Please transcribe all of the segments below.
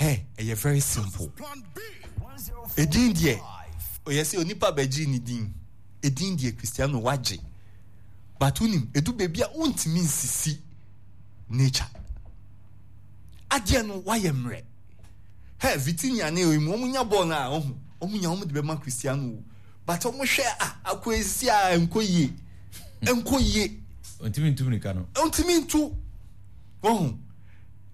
Hey, ɛyɛ very simple. Edin deɛ, ɔyɛ sɛ onipa bɛgye ne din. Edin deɛ Cristiano wagye. But wonim, edu baabi a wontumi nsisi nature. Adeɛ no wayɛ mmerɛ. Hey, Vitinha ne oyi mu, wɔn nya bɔɔl no a, ɔho, wɔn nya wɔn de bɛma Cristiano o. But wɔn hwɛ a, akɔ esi a nkɔ yie. Nkɔ yie. Ntumi ntu mirika no. Ntumi ntu. Wɔho.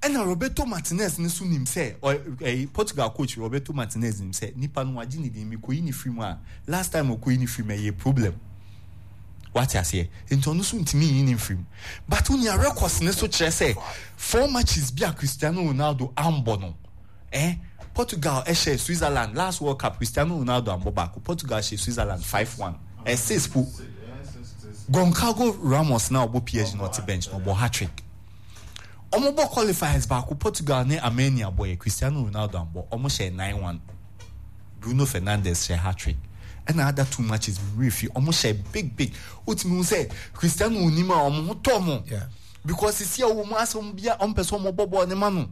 Ɛna Roberto Martinez no nso nim sɛ ɔ ɛyi Portugal coach Roberto Martinez nim sɛ nipa no wagye ne din mekoyi ne firi mu a last time ɔkoyi ne firi mu ɛyɛ problem wate aseɛ nti ɔno nso ntumi nyi ne mfiri mu but wonia records ne so kyerɛ sɛ four matches bi a Cristiano Ronaldo ambɔ no eh Portugal ɛhyɛ Switzerland last World Cup Cristiano Ronaldo ambɔ baako Portugal hyɛ Switzerland 5-1 eh 6 po Goncalvo Ramos na ɔbɔ PSG na ɔte bench na ɔbɔ hat-trick Ɔmo bɔ qualifiers baako Portugal ne Armenia bɔeɛ Cristiano Ronaldo ambɔ ɔmo hyɛɛ 9-1 Bruno Fernandes hyɛɛ hat-trick ɛna other two matches me werɛ fi ɔmo hyɛɛ big big wotumi hu sɛ Cristiano onim a ɔmo ho tɔ ɔmo because sisi a ɔwɔ mu asɛ ɔmo bia ɔmo pɛ sɛ ɔmo bɔ bɔɔl ne ma no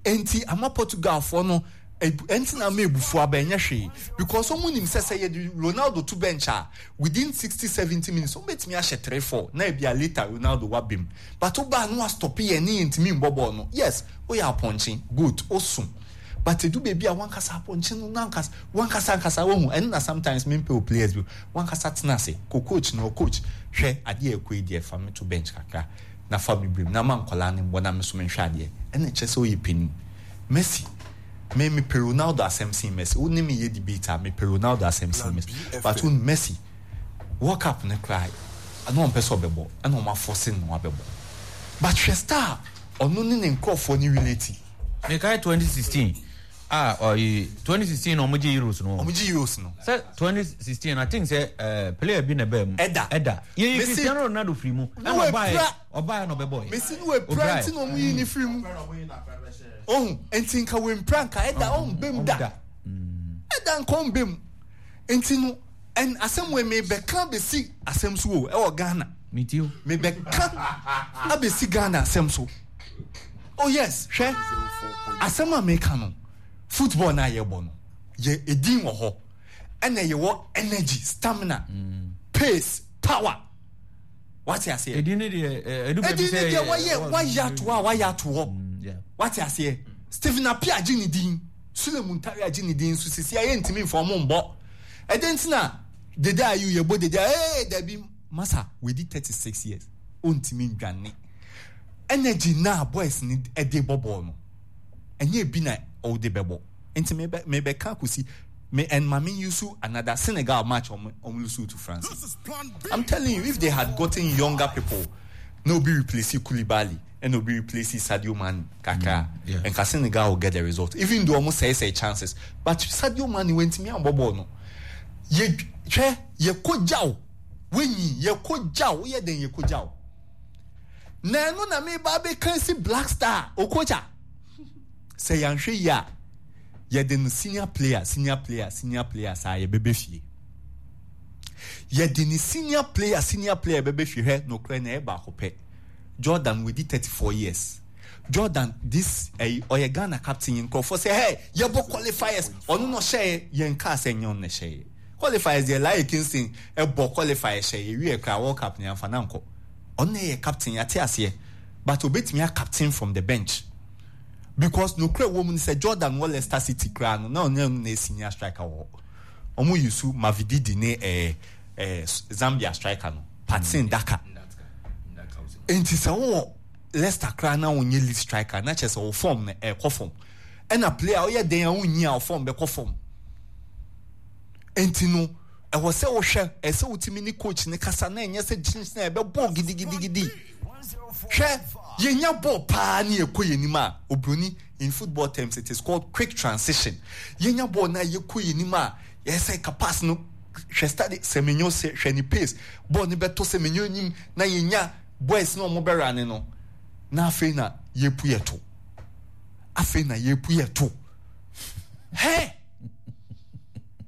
Enti ama Portugalfoɔ no ɛnti na ama ebufuo aba ɛnyɛ hwee because wɔn nim sɛ sɛ yɛde Ronaldo to bench a within 60 70 minutes wɔn bɛtumi ahyɛ 3 4 na ebi a later Ronaldo waba mu but wo baa no wa stop yɛn ne yɛn ntumi mbɔ bɔɔl no yes woyɛ apɔnkye goat oso but edu baabi a wankasa apɔnkye no nankasa wankasa ankasa wohu ɛno na sometimes mempɛ o players bi wankasa tena ase kɔ coach no coach hwɛ adeɛ ɛkɔ yi deɛ fa me to bench kakra na fa me brim na ma nkwadaa no mbɔ na me nso menhwɛ adeɛ ɛna ɛkyerɛ sɛ woyɛ panin Messi me mepɛ Ronaldo asɛm sen Messi wo ne me yɛ debate a mepɛ Ronaldo asɛm sen Messi but wo Messi World Cup no koraa ɛna ɔmpɛ sɛ ɔbɛbɔ ɛna ɔmo afɔse no wabɛbɔ but hwɛ star ɔno ne ne nkorɔfoɔ ne relate. Mekae 2016 Ah ɔyi 2016 na ɔmo gye Euros no. Ɔmo gye Euros no. Sɛ 2016 I think sɛ ɛɛ eh, player bi na ɛbaa mu. Ɛda. Ɛda. Yɛ yi Cristiano Ronaldo firi mu. Ɛna ɔbaa yɛ ɔbaa yɛ na ɔbɛbɔ yɛ. Mesi no wɔ pira nti na ɔmo yi ne firi mu. Ohun nti nka wɔ mpira nka ɛda ɔmo bɛ mu da. Ɛda nka ɔmo bɛ mu. Nti no ɛn asɛm wɔ mi bɛka bɛsi asɛm so o ɛwɔ Ghana. Mi ti o. Mi bɛka abɛsi Ghana asɛm so. Oh yes, hwɛ asɛm a meka no, football no a yɛbɔ no, yɛ edin wɔ hɔ, ɛna yɛwɔ energy, stamina, mm. pace, power. Wate aseɛ? Edin ne deɛ ɛdu baabi sɛ edin ne deɛ wɔyɛ wɔayɛ ato a wɔayɛ ato hɔ. Mm, Wate aseɛ? Stephen Appiah agye ne din, Sule Muntari agye ne din nso sisi a yɛntumi nfa wɔn mbɔ. Ɛdɛn nti na dede ayu yɛbɔ dede a ee dabi masa wɔadi 36 years ɔntumi ndwane. Energy no a boys no de bɔ bɔɔl no, ɛnyɛ ebi na ɔde bɛbɔ. Nti mebɛ mebɛka akosi me and ma me use another Senegal match ɔmo ɔmo lose to France. I'm telling you, if they had gotten younger people, na obi replace Koulibaly, ɛna obi replace Sadio Mane kakra, mm, nka Senegal will get the result. Even though ɔmo sɛe sɛe chances, but Sadio Mane wɛntumi ambɔ bɔɔl no. Yɛ hwɛ yɛkɔ gyaw, wenyi yɛkɔ gyaw, woyɛ dɛn yɛkɔ gyaw. Na ɛno na meba abɛka asi Black Star Okocha. Sɛ yɛanhwɛ yie a, yɛde no senior player, senior player, senior player saa yɛbɛbɛ fie. Yɛde ne senior player, senior player bɛbɛ fie hwɛ nokorɛ na ɛyɛ baako pɛ. Jordan wadi 34 years. Jordan this ɛyi ɔyɛ Ghana captain yi nkurɔfoɔ sɛ hey yɛbɔ qualifiers ɔno na ɔhyɛɛ yɛn kaa sɛ nyɛ ɔno na ɛhyɛɛ qualifiers deɛ Laye Kingston ɛbɔ qualifiers hyɛ yɛwie koraa World Cup no yɛamfa no ankɔ. Ɔno na ɛyɛ captain yɛate aseɛ but obetumi a captain from the bench because nokorɛ wɔ mu ne sɛ Jordan wɔ Leicester City koraa no na ɔno na ɛyɛ senior striker wɔ hɔ. Wɔn use Mavididi ne ɛɛ ɛɛ Zambia striker no Patson Daka. Nti sɛ wowɔ Leicester koraa na wonyɛ lead striker na kyerɛ sɛ wo form no ɛkɔ fam. Ɛna player woyɛ den a wonyi a wo form bɛkɔ fam. Enti no, ɛwɔ sɛ wohwɛ, ɛsɛ sɛ wotumi ne coach no kasa na ɛnyɛ sɛ kyinkyin a ɛbɛbɔ gidigidigidi. Hwɛ, yɛnya bɔɔl paa ne yɛkɔ yɛn anim a, obroni, in football terms it is called quick transition. Yɛnya bɔɔl na yɛkɔ yɛn anim a, yɛyɛ sɛ ka pass no, hwɛ study Semenyo sɛ hwɛ ne pace, bɔɔl no bɛtɔ Semenyo anim na yɛnya boys na wɔn bɛrane no, na afei na yɛpu yɛto. Afei na yɛpu yɛto. Hɛ!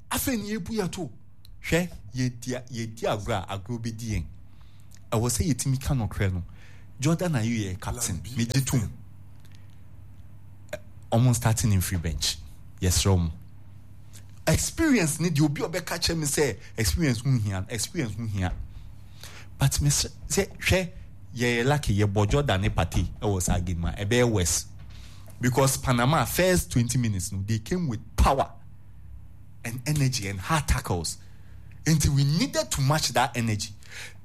Afei na yɛbu yɛn to. Hwɛ, yɛdi yɛdi agorɔ a, agorɔ bɛdi yɛn. Ɛwɔ sɛ yɛtumi ka nokorɛ no. Jordan Ayew yɛ captain, megye tom. Ɔmo start ne mfiri bench. Yɛsrɛ ɔmo. Experience ne deɛ obi a ɔbɛka kyerɛ me sɛ experience ho hia no, experience ho hia. But me sɛ hwɛ yɛyɛ lucky yɛbɔ Jordan ne Partey ɛwɔ saa game a ɛbɛyɛ worse. Because Panama first 20 minutes no they came with power and energy and hard tackles. Nti we needed to match that energy.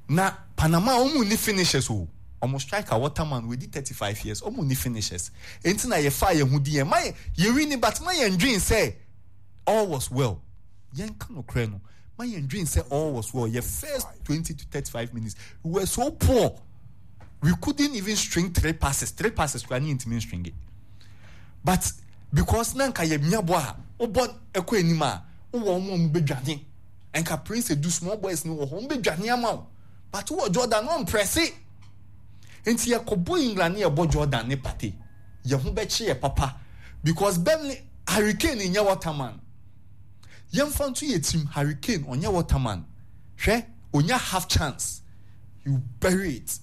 Na Panama wɔn nni finishers o. Wɔn striker Waterman wadi 35 years wɔn nni finishers. Nti na yɛfaa yɛn ho di yɛn ma yɛ yɛ wini but ma yɛn dwen sɛ all was well. Yɛn ka nokorɛ no ma yɛn dwen sɛ all was well. Yɛ first 20 to 35 minutes we were so poor. We couldn't even string three passes. Three passes kura ne yɛntumi string it. But because na nka yɛ nya bɔ a wobɔ ɛkɔ anim a wowɔ wɔn a wɔn bɛdwane. Nka Prince Edu small boys no wɔ hɔ wɔn bɛdwane ama wo. But wowɔ Jordan no ɔmprɛse. Nti yɛkɔbɔ England ne yɛbɔ Jordan ne Partey yɛn ho bɛkye yɛ papa because Burnley Harry Kane nyɛ waterman. Yɛmfa nto yɛ tirim Harry Kane ɔnyɛ waterman. Hwɛ onya half chance he will bury it.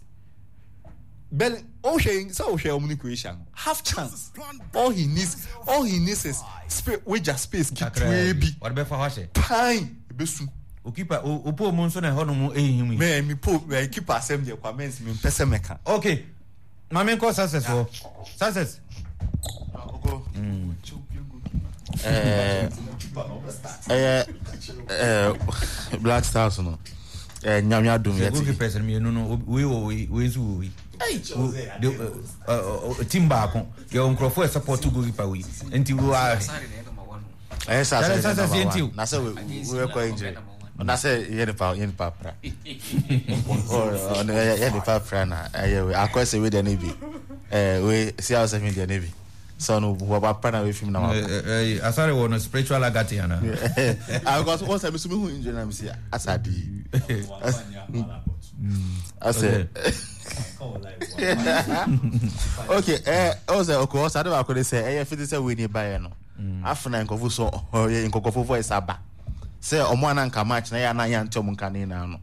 Burnley wohwɛ sɛ wohwɛ wɔn ne Croatia no half chance all he needs all he needs is space wagya space ketewaa bi. Ɔde bɛfa hɔ ahyɛ. Pan ebesu. Okipa opo mu nso na ɛhɔ nom ehihim yi. Mɛ mi po mɛ kipa asɛm deɛ kwa mɛnsi mi mpɛ sɛ mɛka. Okay maame nkɔ success wɔ success. Ɛyɛ ɛɛ Black Stars no ɛɛ Nyame adum yɛ ti. Goalkeepers mmienu no wei wɔ wei wei nso wɔ wei. Team baako yɛ wɔ nkurɔfoɔ support goalkeeper wei nti wɔ. Ɛyɛ sɛ asɛ yɛ number one na sɛ wei kɔ injury na sɛ yɛ nipa yɛ nipa pra ɔno yɛ nipa pra na ɛyɛ wei akɔ sɛ wei deɛ ne bi ɛɛ wei si awo sɛ mi deɛ ne bi sɛ ɔno wɔba pra na wei fi mu na wa. Asare wɔ no spiritual agate ana. Ah because wɔn sɛ mi so mi hu injury na mi si asa di asɛ. Okay ɛɛ ɔsɛ ɔkɔ ɔsɛ ade baako de sɛ ɛyɛ fiti sɛ wei ni ba yɛ no. Afei na nkurɔfo so ɔyɛ nkurɔfo voice aba sɛ ɔmo ana nka match na yɛ ana yɛante ɔmo nka ne nyinaa no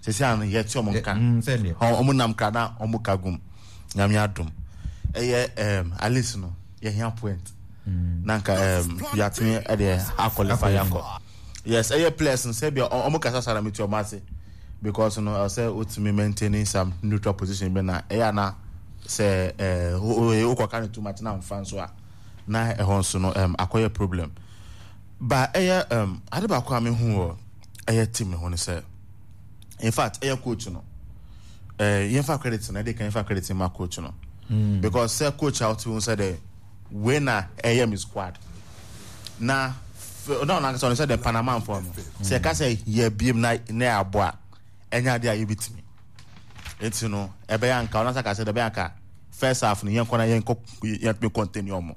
sɛsi ano yɛte ɔmo nka ɔmo nam kra na ɔmo ka gum Nyame adom ɛyɛ at least no yɛhia point na nka yɛatumi ɛdeɛ akɔlifa yɛakɔ yes ɛyɛ players no sɛ bia ɔmo kasa saa na mete ɔmo ase because no ɛwɔ sɛ wotumi maintaining some neutral position bi na ɛyɛ ana sɛ ɛɛ wokɔka no too much na mfa nso a na ɛhɔ nso no um, akɔyɛ problem ba ɛyɛ um, ade baako a mehu wɔ ɛyɛ team no ho no sɛ in fact ɛyɛ coach no eh, yɛmfa credit no ɛde ka yɛmfa credit ma coach no because sɛ coach a wote ho sɛ dɛ wei na ɛyɛ me squad na na ɔno ankasa ɔno sɛ dɛ Panama mfoɔ no sɛ ɛka sɛ yɛbiem na na yɛabɔ a ɛnyɛ adeɛ a yɛbɛtumi nti no ɛbɛyɛ anka ɔno asa ka sɛ ɛbɛyɛ anka first half no yɛnkɔ na yɛnkɔ yɛntumi continue ɔmo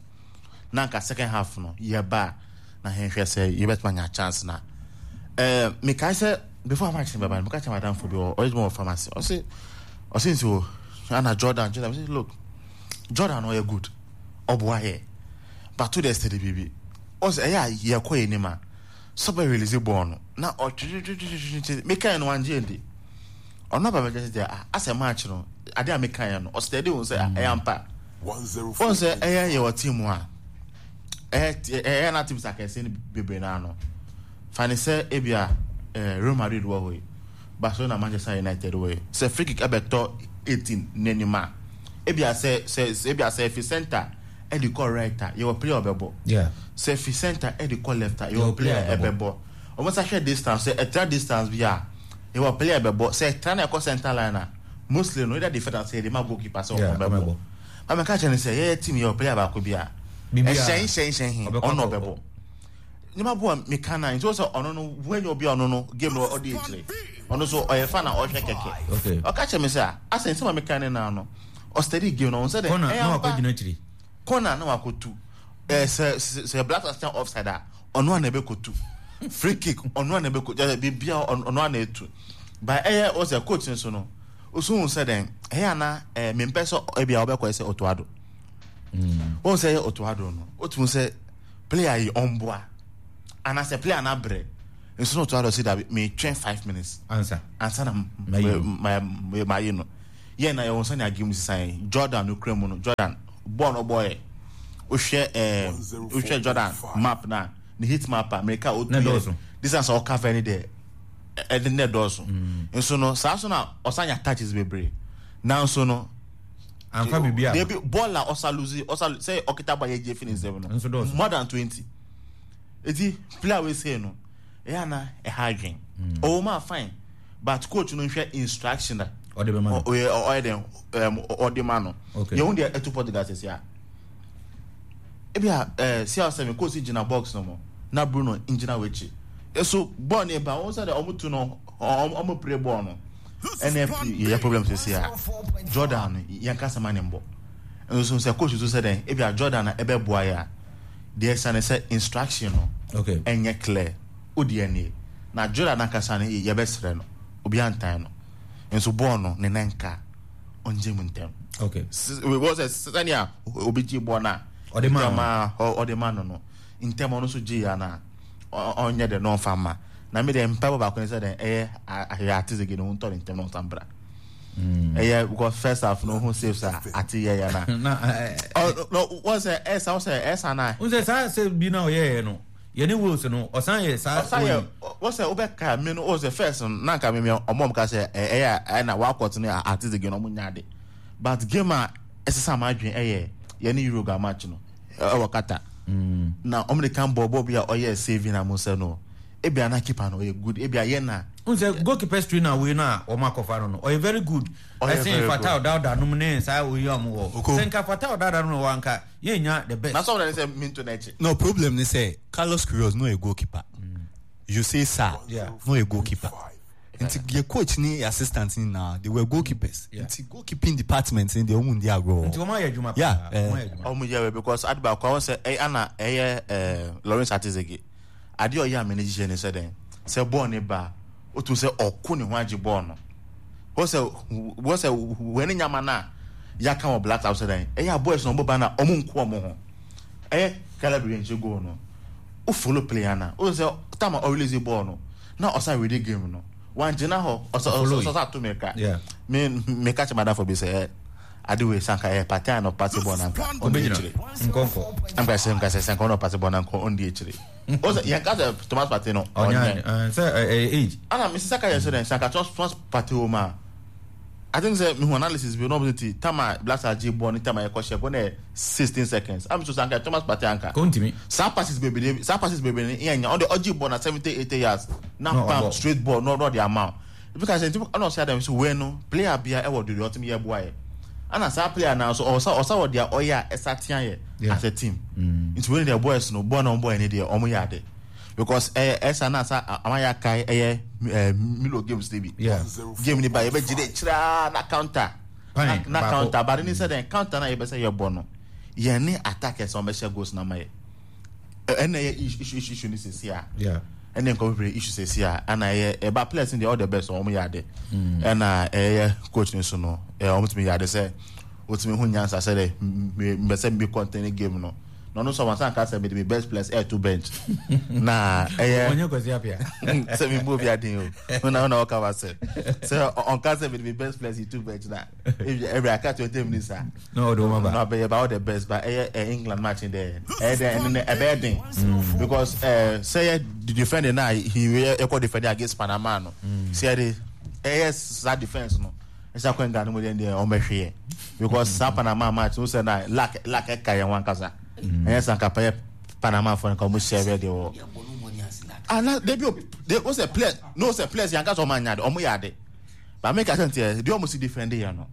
na anka second half no yɛba na yɛnhwɛ sɛ yɛbɛtumi anya chance na ɛɛ mekae sɛ before match no bɛba no meka kyerɛ madamfo bi ɔyɛ adwuma wɔ pharmacy ɔse ɔse nti o ana Jordan Jordan ɔse look Jordan ɔyɛ good ɔboa yɛ but to the extent biribi ɔse ɛyɛ a yɛkɔ yɛ anim a sɛ ɔbɛ release bɔɔl no na ɔtwetwetwetwetwe mekae no wangye ndi ɔno aba bɛgye sɛ deɛ ah asɛ match no ade a mekaeɛ no ɔsɛ de wɔn sɛ ah ɛyɛ ampa wɔn sɛ ɛyɛ yɛ wɔ team a ɛyɛ ɛyɛ na teams akɛse no bebree naa no fani sɛ ebia ɛɛ Real Madrid wɔ hɔ yi Barcelona Manchester United wɔ yi sɛ free kick ɛbɛtɔ 18 n'anim a ebia sɛ sɛ ebia sɛ efi center ɛde kɔ right a yɛwɔ player ɔbɛbɔ sɛ fi center ɛde kɔ left a yɛwɔ player ɛbɛbɔ wɔn nsa hwɛ distance sɛ ɛtra distance bi a yɛwɔ player ɛbɛbɔ sɛ ɛtra na ɛkɔ center line a mostly no either defender sɛ yɛde ma goalkeeper sɛ ɔmo bɛbɔ maame ka kyerɛ no sɛ yɛyɛ team yɛwɔ player baako bi a ɛhyɛn hyɛn hyɛn he ɔno ɔbɛbɔ nneɛma bo a meka na nti sɛ ɔno no wɔnyɛ obi a ɔno no game no ɔde akyire ɔno so ɔyɛ fa na ɔhwɛ kɛkɛ ɔka kyerɛ me sɛ asɛ nsɛm a meka ne naa no ɔstudy game no ɔn sɛ dɛ ɛyɛ ampa corner na wakotu ɛɛ sɛ sɛ Black Stars offside a ɔno a na ɛbɛkotu free kick ɔno a na ɛbɛkotu ɛɛ biribiara ɔno a na etu ba ɛyɛ ɔsɛ coach nso no osu hun sɛ dɛn ɛyɛ ana ɛɛ mempɛ sɛ ebi a ɔbɛkɔ sɛ Otto Addo wɔn sɛ ɛyɛ Otto Addo no otu sɛ player yi ɔnboa anaasɛ player no abrɛ nso na Otto Addo si dabi metwɛn 5 minutes ansa ansa na ma ma yi no. Yɛn na yɛwɔ sɛnea game no sisan yɛn. Jordan no kura mu no, Jordan bɔɔl no ɔbɔɔyɛ. Wohwɛ ɛɛ wohwɛ Jordan map na ne heat map a mmirika a otu yɛ distance a ɔcover ne deɛ ɛde ne dɔɔso. Nso no saa so na ɔsan nya touches bebree. Nanso no Anfa biribi a. Debi bɔɔl a ɔsa lose ɔsa sɛ ɔkita bɔ a yɛgye fi ne nsam no more than 20. Eti player wei sei no ɛyɛ ana ɛha adwen. Ɔwɔ mu a fine but coach no nhwɛ instruction a ɔde bɛma no. Ɔyɛ ɔyɛ dɛn ɛm ɔde ma no. Okay. Yɛn ho deɛ ɛto Portugal sɛsi a. Ebi a ɛɛ CR7 coach gyina box no mu na Bruno ngyina w'akyi. Eso bɔɔl no ba wɔn sɛ deɛ wɔn tu no wɔn wɔn pere bɔɔl no. Ɛna yɛ problem sɛsi a Jordan no yɛn kasa ma ne mbɔ. Nso sɛ coach nso sɛ dɛn ebi a Jordan na ɛbɛboa yɛ a. Deɛ ɛsiane sɛ instruction no Okay. ɛnyɛ clear. Wo deɛ nie. Na Jordan ankasa no yɛbɛsrɛ no. Obiara ntan no. Nso bɔɔl no ne nan nka a, ɔngye mu ntɛm. Okay. Wɔ sɛ sɛnea obi gye bɔɔl no a, Ɔde ma ntɛm no. a ɔde ma no no, ntɛm ɔno nso gye ya no a, ɔnyɛ dɛ na ɔmfa mma. Na me deɛ mpaebɔ baako ne sɛ dɛn ɛyɛ ahwɛ ate sɛ gye ne ho ntɔ ne ntɛm na ɔnsan bra. Ɛyɛ because first half no ho saves a ate yɛ yɛ na. Na Ɔ no wɔ sɛ ɛsa wɔ sɛ ɛsa na. N sɛ saa save bi na ɔyɛɛ no yɛne Wales no ɔsan yɛ saa. Ɔsan yɛ wɔ sɛ wobɛka me no wɔ sɛ first no na nka me me ɔmo ɔmo ka sɛ ɛyɛ ɛna wakɔt ne ate sɛ gye no ɔmo nya ade but game a ɛsesa ma adwene ɛyɛ yɛne Uruguay match no ɛwɔ Qatar na ɔmo de kan bɔɔ bɔɔl bi a ɔyɛ saving na mo sɛ no ebia na keeper no ɔyɛ good ebia yɛ na. N sɛ goalkeepers trainer wei no a wɔn akɔfa no no ɔyɛ very good ɛsen Fatau Dauda nom ne saa oyi a wɔn wɔ sɛ nka Fatau Dauda nom wɔ anka yɛn nya the best. Na sɔrɔ ne sɛ minto n'akyi. No problem ne sɛ Carlos Queiroz no yɛ goalkeeper Jose Sa no yɛ goalkeeper nti yɛ coach ne yɛ assistant ni na they were goalkeepers nti goalkeeping department ni deɛ wɔn ndi agorɔ. Nti wɔn ayɛ adwuma paa. Yeah wɔn yɛ because ade baako a wɔn sɛ ɛyɛ ana ɛyɛ Lawrence Atizege. Adeɛ a ɔyɛ a m'ani gye ne sɛ dɛn? Sɛ bɔɔl no ba a, wotumi sɛ ɔko ne ho agye bɔɔl no. Hɔ sɛ wɔ sɛ wɛne nyama no a yɛaka wɔ Black Stars sɛ dɛn? Ɛyɛ a boys no ɔmo ba no a ɔmo nko ɔmo ho. Ɛyɛ Caleb Yirenkyi goal no, wo follow player no a, wohu sɛ time a ɔrelease bɔɔl no, na ɔsan ready game no. Wangyina hɔ, ɔsɛ ɔsɛ ato mirika. Me meka kyerɛ m'adamfo bi sɛ ade wei sɛ anka ɛyɛ Partey a na ɔpase bɔɔl no anka ɔndi akyire. Nkɔnkɔ. Anka sɛ nka sɛ anka ɔna ɔpase bɔɔl no anka ɔndi akyire. O sɛ yɛn ka sɛ Thomas Partey no ɔnyɛ. Sɛ ɛyɛ age. Ana me sisa ka yɛ sɛ dɛn sɛ anka Thomas Partey wɔ mu a I think sɛ mehu analysis bi na ɔmo ti time a Black Stars gye bɔɔl ne time a yɛkɔ hyɛ bɔɔl no yɛ 16 seconds. Am so sɛ anka Thomas Partey anka. Kontimi. Saa passes bebree saa passes bebree no yɛn nya ɔde ɔgye bɔɔl na 70 80 yards na pam straight ball na ɔde ama o. Ebi ka sɛ nti ɛna ɔsɛ adam so wei no player bia ɛwɔ deɛ ɔtumi yɛ boa yɛ ɛna saa player naa so ɔsa ɔsa wɔ deɛ ɔyɛ a ɛsa tia yɛ as a team nti wei deɛ boys no bɔɔl na wɔn bɔɔl ne deɛ wɔn yɛ ade because ɛyɛ ɛsa na asa ama yɛ akae ɛyɛ ɛɛ Milo games ne bi game ne ba yɛ bɛ gye de kyerɛ na counter na counter ba ne sɛ dɛn counter na yɛ bɛ sɛ yɛ bɔ no yɛn ne attackers wɔn bɛ hyɛ goals na ma yɛ. Ɛna ɛyɛ issue issue issue ne sisi a. Ɛna nkɔfo pere issue sisi a. Ɛna ɛyɛ ɛba players ne deɛ all the best wɔn yɛ ade. Ɛna ɛyɛ coach ne so no ɛɛ wɔn tumi yɛ ade sɛ otumi ho nyansa sɛ dɛ mbɛ sɛ mbi contain game no. Na ɔno nso wɔn asan ka sɛ mede mi best players ɛɛto bench. Na ɛyɛ ɔnyɛ Kwasi Appiah. Sɛ mi bu obi aden o. Na ɔna ɔka wa sɛ sɛ ɔnka sɛ mede mi best players to bench na ebi aka 20 minutes a. Na ɔde wɔn aba. Na ɔbɛyɛ ba all the best ba ɛyɛ ɛ England match dɛ ɛyɛ dɛ ɛno nɛ ɛbɛyɛ den because ɛ sɛ yɛ defend na he yɛ ɛkɔ defend against Panama no sɛ yɛ de ɛyɛ saa defence no ɛsɛ akɔ England mu deɛ deɛ wɔn bɛhwe yɛ because saa Panama match no sɛ na lack lack ɛka yɛn ho ankasa ɛyɛ sɛ anka pɛyɛ Panama fo no ka wɔn hyɛ bɛ deɛ wɔ ah na debi o de o sɛ players no sɛ players yɛn ankasa wɔn anya de wɔn yɛ ade. But me ka sɛ nti deɛ ɔmo si defend yɛ no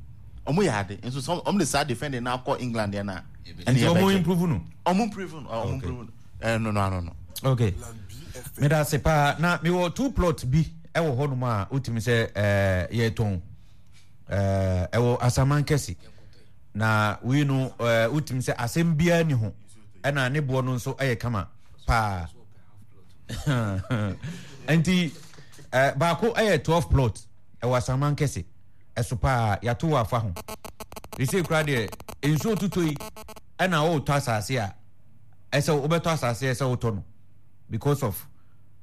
ɔmo yɛ ade nso sɛ ɔmo de saa defending na akɔ England yɛ na ɛne yɛ bɛgye. Ɔmo improve no. Ɔmo improve no ɔmo improve no ɛno no ano no. Okay meda ase paa na mewɔ two plot bi ɛwɔ hɔnom a wotumi sɛ ɛɛ yɛtɔn ɛɛ ɛwɔ Asaman kɛse na wei no ɛɛ wotumi sɛ asɛm biara ni ho ɛna ne boɔ no nso ɛyɛ kama paa. Nti eh, baako yɛ 12 plot ɛwɔ Asaman kɛse ɛso paa yɛato wɔ afa ho ɛsei koraa deɛ nsuo tutɔ yi ɛna wotɔ asase a ɛsɛ wobɛtɔ asase ɛsɛ wotɔ no because of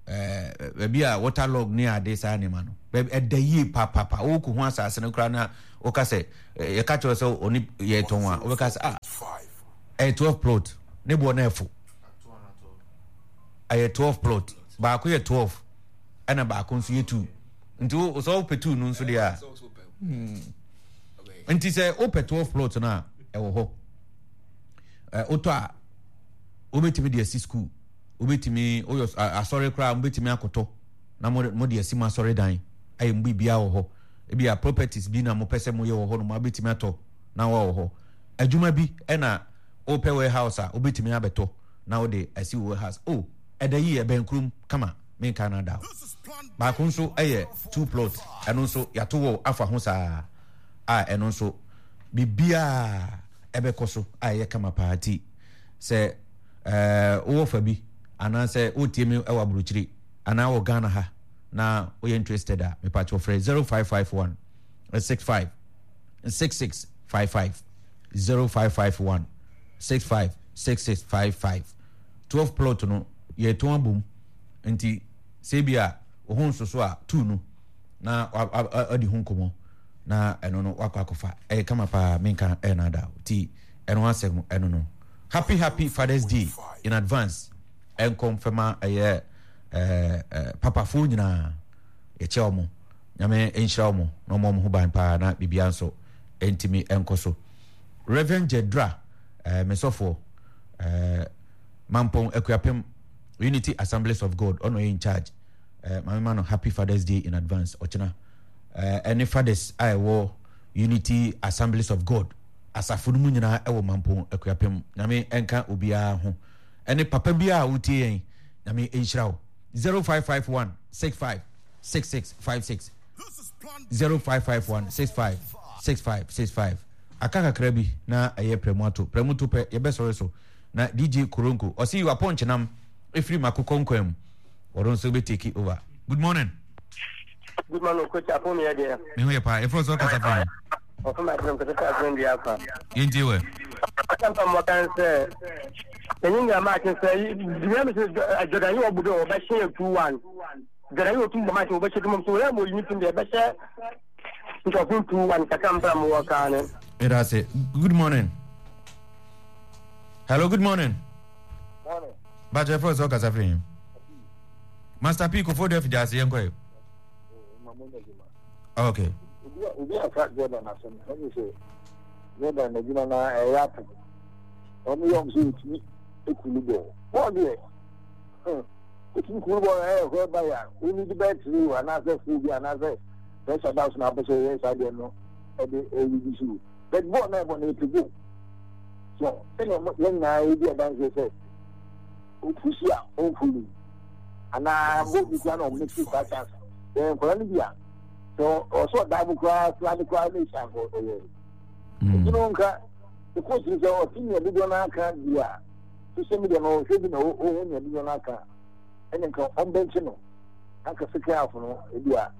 eh, baabi a water log ne ade saa nneɛma no ɛda yie papapa wokɔ ho asase no koraa na woka sɛ eh, yɛka kyerɛ sɛ ɔne yɛtɔn a wobɛka sɛ ah. Ɛyɛ 12 plot ne boɔ no ɛfo. Ɛyɛ 12 plot. Baako yɛ 12 ɛna baako nso yɛ 2. Nti wo sɛ wopɛ 2 no nso deɛ a. Hmm. Nti sɛ wopɛ 12 plot no a ɛwɔ hɔ. Wotɔ a wobɛtumi de asi school. Wobɛtumi woyɛ asɔre koraa wobɛtumi akɔtɔ na mo de asi mo asɔre dan ayɛ mo biribiara wɔ hɔ. Ebi a properties bi na mopɛ sɛ moyɛ wɔ hɔ no mo abɛtumi atɔ na wɔ hɔ. Adwuma bi na wopɛ warehouse a wobɛtumi abɛtɔ na wode asi wo warehouse. Oh, ɛda yie, ɛbɛn kurom kama, menka no ada o. Baako nso yɛ two plot, ɛno nso yɛato wɔ afa ho saa a ɛno nso biribiara ɛbɛkɔ so a ɛyɛ kama paa ti sɛ ɛɛ wowɔ fa bi anaasɛ wotie me wɔ aburokyiri anaa wɔ Ghana ha na woyɛ interested a mepakyɛw frɛ 0551 65 6655 0551 65 6655 12 plot no yɛtɔn abom nti sɛ bi a wo ho nsoso a tu no na adi ho nkɔmmɔ na ɛno no wakɔ akɔfa ɛyɛ kama paa menka ɛna ada ti ɛno asɛm ɛno no happy happy fathers day in advance ɛnkɔ mfɛma ɛyɛ ɛɛ papafoɔ nyinaa yɛkyɛ wɔn Nyame nhyira wɔn na ɔmmɔ wɔn ho ban paa na biribiara nso ntumi nkɔ so. Reverend Jedra, eh, me sɔfoɔ, eh, Mampɔn Akuapem Unity Assemblies of God, ɔno ɔyɛ in charge. Eh, maame ma no Happy Father's Day in advance, ɔkyena. Eh, ɛne fathers a ɛwɔ Unity Assemblies of God asafo no mu nyinaa ɛwɔ Mampɔn Akuapem. Nyame nka obiara ho. Ɛne papa biara a wotie yɛn, Nyame nhyira wo. 0551 65 6656 0551 65 65 65 Aka kakra bi na ɛyɛ prɛmu ato prɛmu to pɛ yɛbɛsɔre so na DJ Koronko ɔse yi wapɔnkyenam ɛfiri makokɔ nkwan mu ɔno nso bɛ take over. Good morning. Good morning, coach. Apo mi yɛ deɛ. Me ho yɛ paa. Efra sɛ ɔkasa firi he? Ɔfam adwene kɔsɛ sɛ adwene dua afa. Yɛntie wɛ. Ɔsɛ mpa mmɔ kan sɛ ɛnyɛ nyina maakye sɛ dua mi sɛ Jordan yi ɔbu dɛ ɔbɛhyɛ yɛ 2-1. Dza yɛ otum bɔ match wɔbɛhyɛ dwuma mu so wɔyɛ ma oyi ne team deɛ ɛbɛhyɛ nkurɔfo 2-1 kakra mpra mo wɔ kaa ne. Meda ase. Good morning. Hello, good morning. Morning. Bakyɛ fɛ sɛ ɔkasa firi he? Master P kofo dɛ fidi ase yɛnkɔ yɛ. Okay. Obi afa Jordan asɛm ɛne sɛ Jordan n'adwuma na ɛyɛ ato. Wɔn yɛ wɔn sɛ otumi ekulu bɔɔl. Bɔɔl deɛ. Wotumi kuru bɔ ɛyɛ hɔ ba yɛ a wonni de bɛyɛ tiri o anaasɛ fuo bi anaasɛ pressure da so na apɛ sɛ ɔyɛ saa deɛ no ɛde ɛyi so but bɔɔl na ɛbɔ no ɛte goal so sɛnea yɛn nyinaa yɛdi adanseɛ sɛ opusi a ɔmfo yi anaa bɔɔl bi koraa na ɔmo fi saa chance yɛn nkwadaa no bi a sɛ ɔsɛ ɔdaa mu koraa slide koraa na ehyia nkɔ ɔyɛ nti no nka coach sɛ ɔte nea dodoɔ no aka bi a social media no ɔhwɛ bi na ɔhu nea dodoɔ no aka ɛne nka ɔmbɛnkye no anka second half no ebi a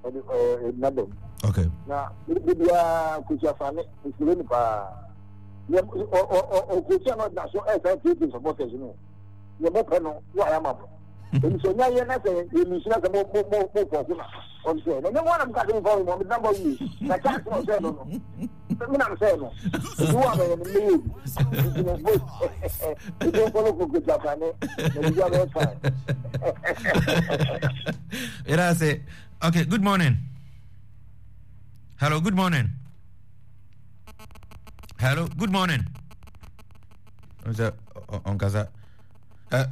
ɔde ɛɛ naba mu. Okay. Na ebi biara kosi afane mesere no paa. Yɛ ɔ ɔ ɔ ɔkosi a na ɔgyina so ɛsan tietie supporters no. Yɛ mo pɛ no wo ayɛ ama mo. Ebi sɛ ɔnya yɛ na sɛ yɛ lusi na sɛ mo mo mo mo fɔ ko na ɔsɛ na nyɛ mo anam kase mo fa mo mo namba wie na chance na ɔsɛ no no. Me nam sɛ no. Ebi wɔ amɛyɛ no mmɛyɛ bi. Nti no vote. Ebi nkɔlɔ koko jafane na ebi abɛyɛ fine. Yɛda ase. Okay, good morning. Hello, good morning. Hello, good morning. Sɛ ɔnkasa.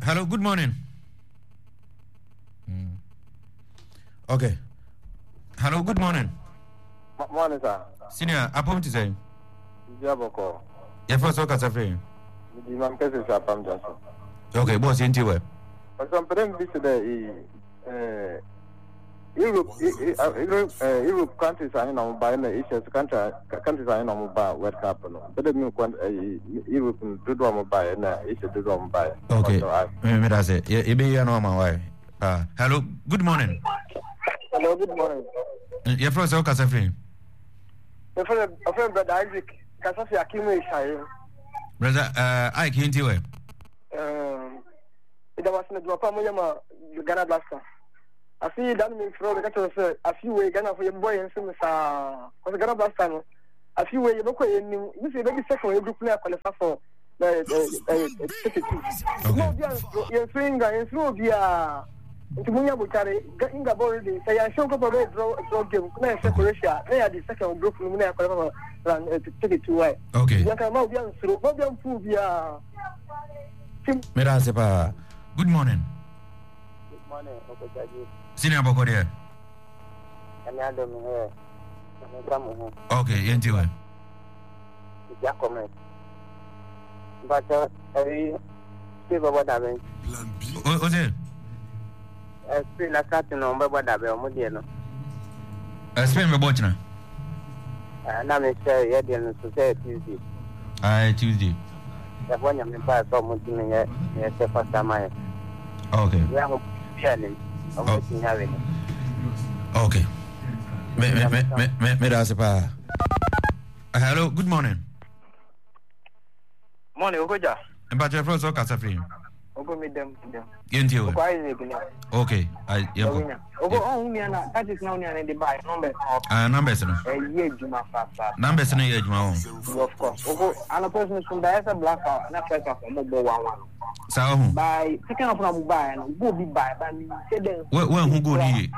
Hello, good morning. Okay. Hello, good morning. Morning, sir. Senior, apom ti sɛn? Bibi abɔkɔ. Yɛfrɛ sɛ ɔkasa firi? Medi mam kɛse sɛ apam gya so. Okay, boss, yɛntie wɛ. Ɔsɛ mpɛ dɛ mbi sɛ dɛ Europe Europe Europe countries ahe na wɔn ba na Asia so country countries ahe na wɔn ba World Cup no. Mpɛ dɛ mi nkɔ Europe dodoɔ a wɔn ba yɛ na Asia dodoɔ a wɔn ba yɛ. Okay, me da se yɛbɛyi ano ama wae. Hello, good morning. Hello, good morning. Yɛfrɛ sɛ wokasa firi? Yɛfrɛ Brother Isaac, kasa fi Akimu Esaye. Brother Ike, yɛntie wɛ. Ìjọba sinna jùmọ̀ pa mo yẹ ma Ghana Blaster. Afi da no mi nfrɛ wo bɛka kyerɛ sɛ afi wei Ghana fo yɛbɔ yɛn nsam saa. Kɔsɛ Ghana Blaster no afi wei yɛbɛkɔ yɛn nim. Bi sɛ yɛbɛdi second wɔ yɛ group no yɛ qualify for Na ɛyɛ ɛyɛ 32. Na obi a yɛnsuro England, yɛnsuro obiara. Nti mo nya botare, Inga bɔ ready. Sɛ yɛanhyɛ nkɔpɔ bɛyɛ draw draw game na yɛhyɛ Croatia na yɛade second group no mu na yɛakɔlɛ papa round 32 why. Okay. Yɛn kan ma obi ansuro, ma obi amfu obiara. Meda ase paa. Good morning. Good morning, Okojaji. Senior bɔkɔ deɛ. Ɛne adom hɛ, ɛne nka mo ho. Okay, yɛn ti wɛ. Nti akɔmɛ. Mpakyɛ ɛyi Spain bɛbɔ dabɛn. O se. Ɛ Spain na Saturday na wɔn bɛbɔ dabɛn wɔn deɛ no. Ɛ Spain bɛbɔ kyina. Ɛ na mi sɛ yɛ deɛ no so sɛ Tuesday. Aa Tuesday. Yɛbɔ nyame mpa sɛ ɔmo ntumi nyɛ yɛ sɛ fasa ma yɛ. Okay. Yɛ ho bi a nim ɔmo tumi awe ni. Okay. Me me me me me me da ase paa. Hello, good morning. Morning, Okoja. Mpakyɛ fɛ sɛ ɔkasa firi. Oko mi dɛm dɛm. Yɛn ti o. Oko Isaac ni. Okay, yɛn kɔ. Oko ɔn nua na that is na onua ne de ba numbers na. Ah, numbers no. Ɛyɛ adwuma fa fa. Numbers no yɛ adwuma wɔn. Of course. Oko anɔpɛ so so da ɛsɛ black hour na first half ɔmo bɔ 1-1. Saa ɔho. By second half na ɔmo ba yɛ no goal bi ba ba mi nhyɛ dɛ. Wɛ wɛ nhu goal ni yie.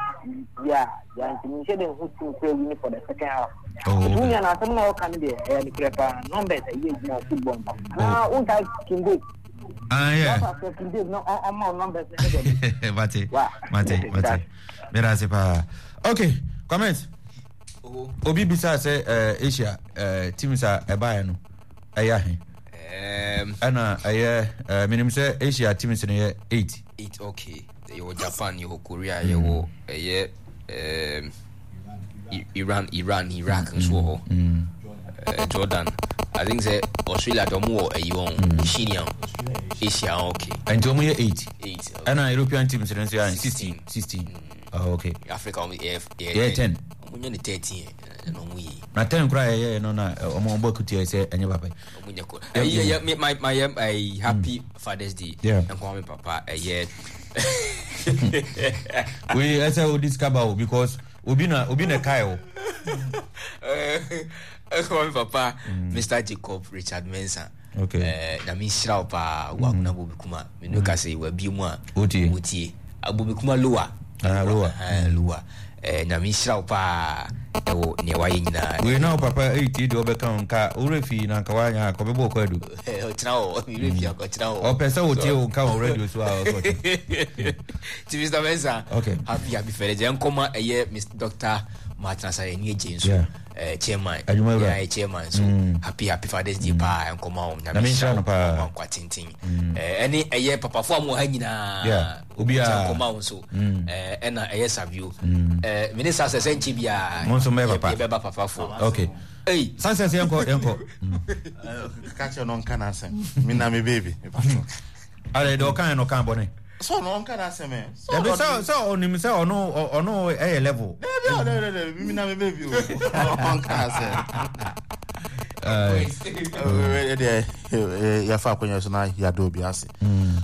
Yeah, yeah nti mi nhyɛ dɛ nhu team kura win for the second half. Oh, okay. Nti na asɛm na ɔka no deɛ ɛyɛ nokorɛ paa numbers ɛyɛ adwuma wɔ football mu. Na wonka King Dave. Ah, yeah. Wọ́n King Dave na ɔma wo numbers ne dɛ. Mate, mate, mate. Mera ase paa. Okay, comment. Obi bisa sɛ eh, Asia eh, teams a ɛbaeɛ no ɛyɛ ahe? Ɛna ɛyɛ eh, menim sɛ Asia teams no yɛ 8. 8 okay. Yɛwɔ Japan, yɛwɔ Korea, yɛwɔ ɛyɛ um, Iran, Iran, Iraq nso wɔ hɔ. Mm. Uh, Jordan. I think sɛ Australia de ɔmo wɔ ɛyi wɔn mm. Oceania, Asia, okay. Nti ɔmo yɛ 8. 8. Ɛna European teams no nso yɛ 16. 16. Oh, okay. Africa ɔmo yɛ yɛ 10. Ɔmo nyɛ ne 13 ɛna ɔmo yɛ. Na 10 koraa yɛ yɛ no na ɔmo bɔ kutia sɛ ɛnyɛ papa. Ɔmo nyɛ ko. Ɛyɛ yɛ my my yɛ happy Father's Day. Yeah. Nkɔmɔ mi papa ɛyɛ. Wei ɛsɛ o discover o because obi na obi na ɛkae o. Nkɔmɔ mi papa Mr Jacob Richard Mensah. Okay. Eh, na mi nhyira wo paa wo akuna bobi kuma. Me no ka sɛ wabie mu a. Wotie. Wotie. Bobi kuma lower. Ah, lower. Ah, lower. Eh, Nyame nhyira wo paa ɛwɔ nea wayɛ nyinaa. Wei na wo papa ɛretie deɛ ɔbɛka wo nka worɛ fii na nka woanyɛ a nka ɔbɛbɔ wo kwaadu. Ɔkyena hɔ, werɛ fii anka ɔkyena hɔ. Ɔpɛ sɛ wotie wo nka wɔ radio so a ɔsɛ ɔkyena. Ti Mr. Mensah, okay. Happy happy Father's Day. Nkɔma ɛyɛ Mr. Dr. Martin Asare ni agye nso. Yeah. Eh, chairman. Adwuma wura. Yeah, chairman so. Happy happy Father's Day paa nkɔma wɔn. Nyame nhyira no paa. Ɔma nkwa tenten. Eh, ɛne ɛyɛ papafo a mo wɔ ha nyinaa. Yeah. Obiara. Nkɔma wɔn so. Ɛna ɛyɛ Savio. Eh, me ne Success ɛnkyɛ biara. Mo nso mɛyɛ papa. Yɛbɛba papafo. Okay. Hey. Success yɛnkɔ yɛnkɔ. Ka kyerɛ no ɔnka n'asɛm. Me na me baby. Are deɛ ɔka yɛ no ɔka bɔne. So no ɔnka n'asɛm ɛ. Dabi sɛ sɛ ɔnim sɛ ɔno ɔno ɛyɛ level. Dabi dabi dabi me na me baby o. Ɔnka n'asɛm. Ɛdeɛ yɛfa akonnwa so na yɛada obi ase.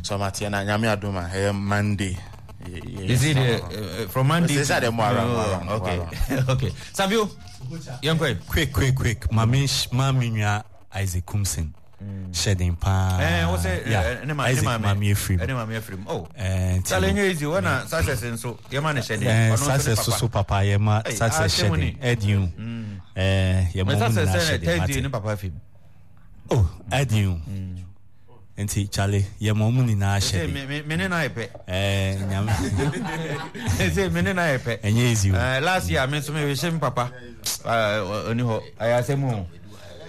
So mateɛ na nyame adom a ɛyɛ Monday. Is it from Monday? Sɛ sɛ mo around, around, okay. Okay. Savio, yɛnkɔ. Quick, quick, quick. Mame ma me nua Isaac Kumsin. Hyɛ den paa. Eh, wo sɛ Yeah. ne ma Isaac ne maame maame afiri mu. Ne maame afiri mu. Oh. Eh, nti Sale no. nyɛ easy wɔ na success nso yɛma ne hyɛ den. Eh, Ɔno nso ne success papa. so papa yɛma Hey, success asɛm hyɛ ni. den. Ɛdin o. Eh, yɛma Mɛ ɔmo success nyinaa sɛ hyɛ den. Thursday Mate. ne papa afiri mu. Oh, ɛdin o. Nti Charlie, yɛma ɔmo nyinaa hyɛ Sɛ den. me me me ne na yɛ pɛ. Eh, nyame. Sɛ me ne na yɛ pɛ. Ɛnyɛ easy o. Eh, last year me nso me hwehwɛ me papa. Eh, ɔni hɔ. Ɛyɛ asɛm o.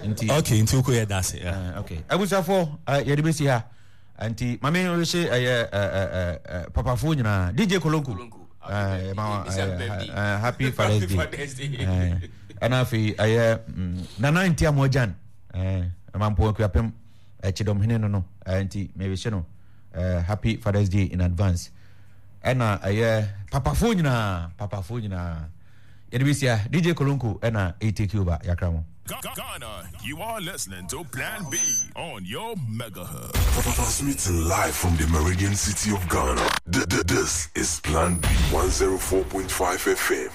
Nti. Okay, nti wokɔ yɛ dase. Yeah. Eh, okay. Abusuafoɔ, eh, yɛde bɛsi ha. Nti maame hwehwɛ ɛyɛ eh, eh, papafoɔ nyinaa. DJ Kolonko. Eh, ma, eh, eh, happy Father's Day. Eh, ɛna afei ɛyɛ Nana Nti Amoagyan. Eh, Mampo Akuapem. Kyidɔmhene no no. Eh, nti mehwehwɛ no eh, happy Father's Day in advance. Ɛna ɛyɛ papafoɔ nyinaa, papafoɔ nyinaa. Yɛde bɛsi ha. DJ Kolonko ɛna ɛtake over yakra mo. Ghana, you are listening to Plan B on your Mega Hub. Transmitting live from the Meridian City of Ghana. This is Plan B 104.5 FM.